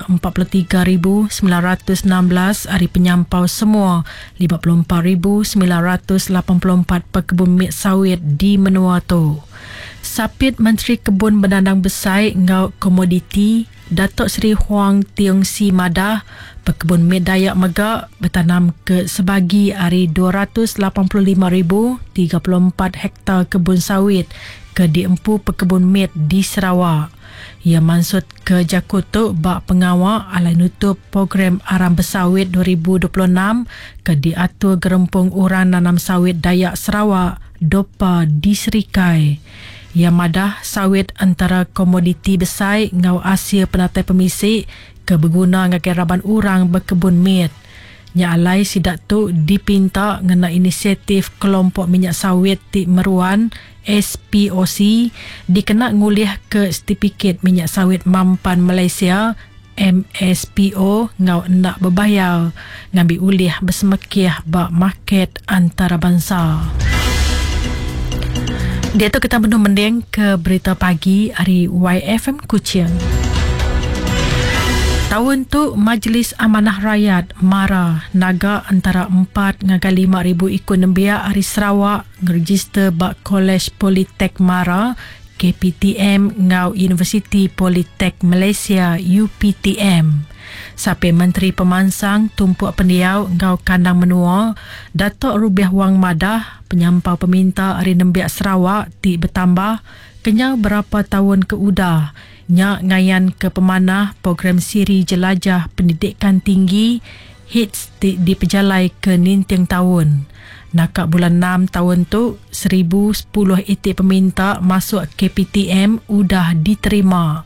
43,916 ari penyampau semua 54,984 pekebun mit sawit di menua tu. Sapit Menteri Kebun Bedandang Besai enggau Komoditi, Datuk Seri Huang Tiong Sii madah, pekebun mit Dayak mega betanam ke sebagi ari 285,034 hektar kebun sawit ke diempu pekebun mit di Sarawak. Iya mansutka jaku tu ba pengawa alai nutup Program Aram Besawit 2026 ke diatur Gerempung Orang Nanam Sawit Dayak Sarawak, Dopa, di Serikai. Iya madah sawit entara komoditi besai enggau asil penatai pemisi ke beguna ngagai raban orang bekebun mit. Nya alai sida tu dipinta ngena inisiatif Kelompok Minyak Sawit ti Meruan, SPOC, dikena ngulihka setipikit minyak sawit mampan Malaysia, MSPO, enggau enda bebayar ngambi ulih besemekih ba market antarabansa. Diatu kita benung mending ke berita pagi ari YFM Kuching. Taun tu Majlis Amanah Rayat, MARA, naga entara empat ngagai 5,000 iku nembiak ari Sarawak ngerejister ba Kolej Politek MARA, KPTM, enggau Universiti Politek Malaysia, UPTM. Sapit Menteri Pemansang Tumpuk Pendiau enggau Kandang Menua, Datuk Rubiah Wang madah, penyampau peminta ari nembiak Sarawak ti betambah kenyau berapa taun ke udah nya ngayanka pemanah program siri Jelajah Pendidikan Tinggi, HITS, ti dipejalaika ninting taun. Naka bulan enam taun tu, 1010 iti peminta masuk KPTM udah diterima.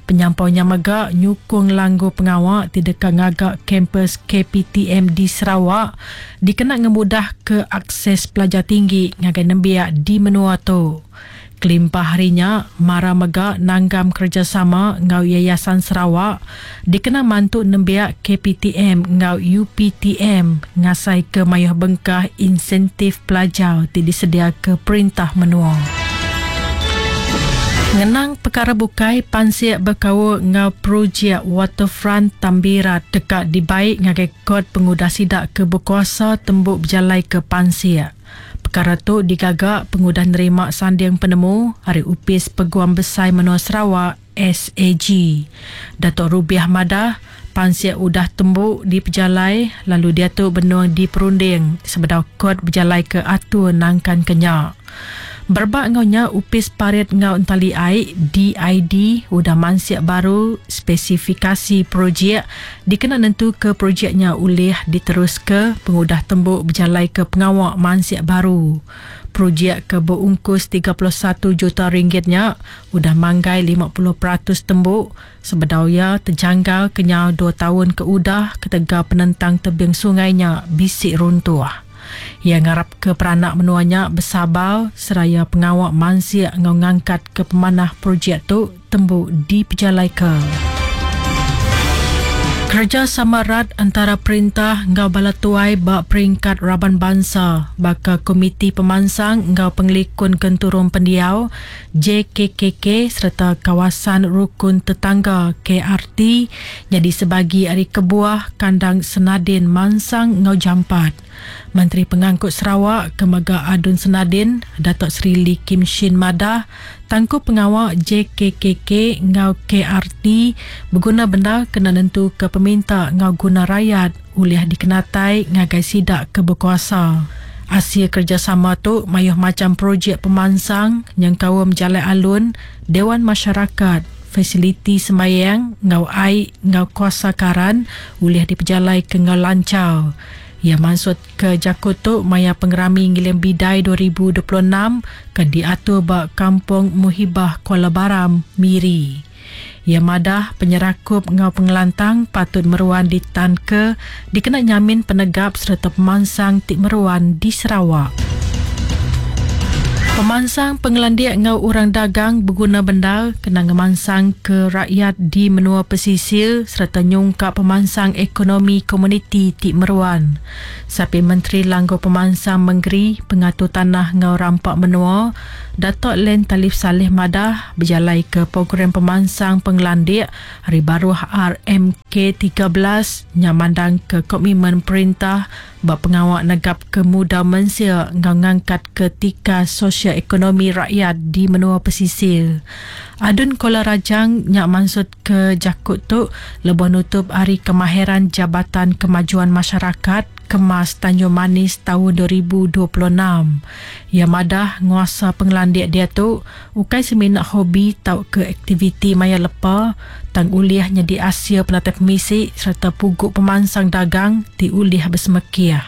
Penyampau nya mega nyukung langgur pengawa ti deka ngaga kampus KPTM di Sarawak dikena ngemudahka akses pelajar tinggi ngagai nembiak di menua tu. Kelimpah ari nya, Mara mega nanggam kerejasama enggau Yayasan Sarawak dikena mantu nembiak KPTM enggau UPTM ngasaika mayuh bengkah insentif pelajar ti disediaka perintah menua. Ngenang pekara bukai, pansik bekaul enggau projek Waterfront Tambirat deka dibai ngagai kot pengudah sida ke bekuasa tembu bejalaika pansik. Pekara tu digaga pengudah nerima sanding penemu ari Opis Peguam Besai Menua Sarawak, SAG. Datuk Rubiah madah, pansik udah tembu dipejalai lalu diatu benung diperunding sebedau kot bejalaika atur nangkanka nya. Berebak enggau nya, Opis Parit enggau Entali Ai, DID, udah mansik baru spesifikasi projek dikena nentuka projek nya ulih diteruska pengudah tembu bejalaika pengawa mansik baru. Projek ke beungkus 31 juta ringgit nya udah manggai 50% tembu sebedau iya tejanggal kenyau dua taun ke udah ketegal penentang tebing sungai nya bisi runtuh. Iya ngarapka peranak menua nya besabar seraya pengawa mansik enggau ngangkatka pemanah projek tu tembu dipejalaika. Kerejasama rat entara perintah enggau bala tuai ba peringkat raban bansa baka Komiti Pemansang enggau Pengelikun Genturung Pendiau, JKKK, sereta Kawasan Rukun Tetangga, KRT, nyadi sebagi ari kebuah kandang Senadin mansang enggau jampat. Menteri Pengangkut Sarawak ke mega ADUN Senadin, Datuk Seri Lee Kim Shin madah, tangkup pengawa JKKK enggau KRT beguna bendar kena nentuka peminta enggau guna rayat ulih dikenatai ngagai sida ke bekuasa. Asil kerejasama tu mayuh macham projek pemansang nyengkaum jalai alun, Dewan Masyarakat, fasiliti sembayang enggau ai enggau kuasa karan ulih dipejalaika enggau lanchar. Iya mansutka jaku tu maya Pengerami Ngiling Bidai 2026 ke diatur ba Kampung Muhibah Kuala Baram, Miri. Iya madah penyerakup enggau pengelantang patut meruan ditanka dikena nyamin penegap sereta pemansang ti meruan di Sarawak. Pemansang pengelandik enggau orang dagang beguna bendar kena ngemansangka rakyat di menua pesisir sereta nyungkak pemansang ekonomi komuniti ti meruan. Sapit Menteri Langgur Pemansang Mengeri, Pengatur Tanah enggau Rampa Menua, Datuk Len Talif Salleh madah bejalaika program pemansang pengelandik ari baruh RMK 13 nya mandangka komitmen perintah ba pengawa negapka mudal mensia enggau ngangkatka tikas sosio-ekonomi rakyat di menua pesisir. Adun Kuala Rajang nya mansutka jaku tu lebuh nutup Hari Kemahiran Jabatan Kemajuan Masyarakat, Kemas, Tanjung Manis taun 2026. Iya madah nguasa pengelandik diatu ukai semina hobi tauka aktiviti maya lepa tang ulih nyadi asil penatai pemisi sereta pugu pemansang dagang ti ulih besemekih.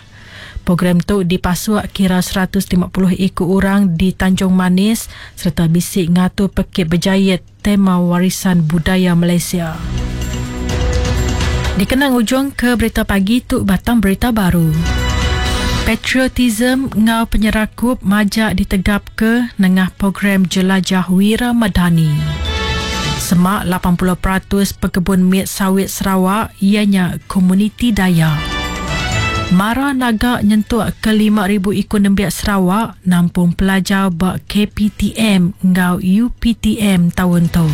Program tu dipasuk kira 150 iku orang di Tanjung Manis sereta bisi ngatur pekit bejait tema Warisan Budaya Malaysia. Dikena ngujungka berita pagi tu batang berita baru. Patriotism enggau penyerakup majak ditegapka nengah program Jelajah Wira Madani. Semak 80% pekebun mit sawit Sarawak iya nya komuniti Dayak. Mara naga nyentuk ke 5,000 iku nembiak Sarawak nampung pelajar ba KPTM enggau UPTM taun tu.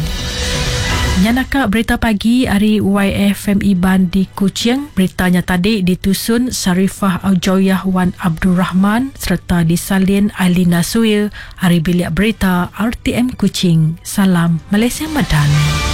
Nya naka berita pagi ari YFM Iban di Kuching. Berita nya tadi ditusun Sharifah Aujoyah Wan Abdul Rahman sereta disalin Ailina Suil ari Bilik Berita RTM Kuching. Salam Malaysia Madani.